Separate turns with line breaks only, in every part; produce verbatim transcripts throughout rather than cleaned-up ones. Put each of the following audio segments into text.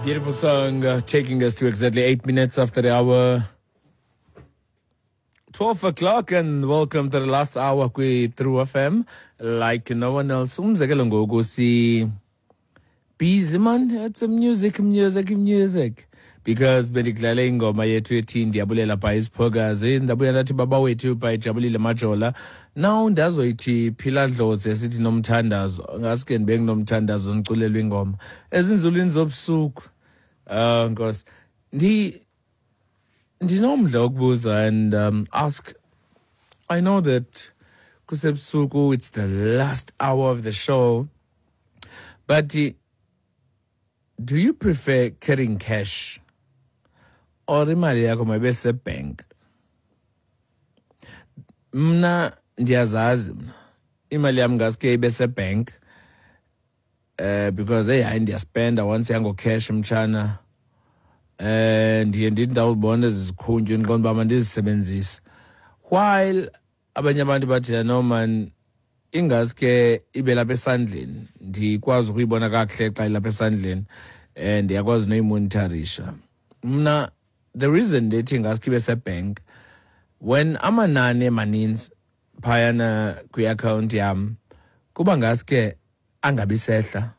Beautiful song uh, taking us to exactly eight minutes after the hour twelve o'clock, and welcome to the last hour kwi True F M like no one else. Umzekelo ngoku si busy man, it's a music, music, music, because bendidlale ingoma yethu ethi "Ndiyabulela" by Isiphokazi, ndabuya ndathi "Baba Wethu" by Jabulile Majola. Now ndazoyithi "Phila Dlozi" esithi "Nomthandazo". Ngaske ndibe nginomthandazo, ndiculelwe ingoma ezinzulwini zobusuku. Oh Nkosi, ndi ndinomdla wokubuza and um, ask. I know that kusebusuku, it's the last hour of the show, but uh, do you prefer carrying cash or imali yakho mayibe sebank? Mna ndiyazazi, mna imali yam ngaske ibe sebank, eh because hey, hayi, ndiyaspenda once yango cash, mtshana. eh ndiye ndithi ndawubona ezi zikhuntywe, ndiqonda uba mandizisebenzise, while abanye abantu bathi, "No man, ingaske ibe lapha esandleni, ndikwazi ukuyibona kakuhle xa ilapha esandleni um ndiyakwazi noyimonitorisha." Mna the reason ndithi ngaske ibe sebank, when amanani emaninzi phayana kwi-akhawunti yam, kuba ngaske angabi sehla.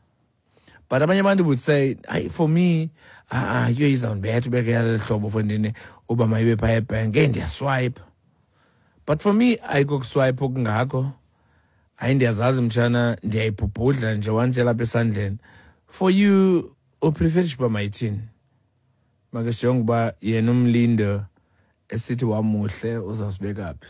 But abanye abantu would say, "Hayi, for me, ah, yiyo izawundibetha ubeke yaleli hlobo fondini uba mayibe phaya ebhenki, eyi, ndiyaswipe." But for me ayiko kuswipe okungako. Hayi, ndiyazazi mtshana, ndiyayibhubhudla nje once yalapha esandleni. For you, upreferisha uba mayithini? Make sijonge uba yena umlindo esithi wamuhle uzawusibeka phi.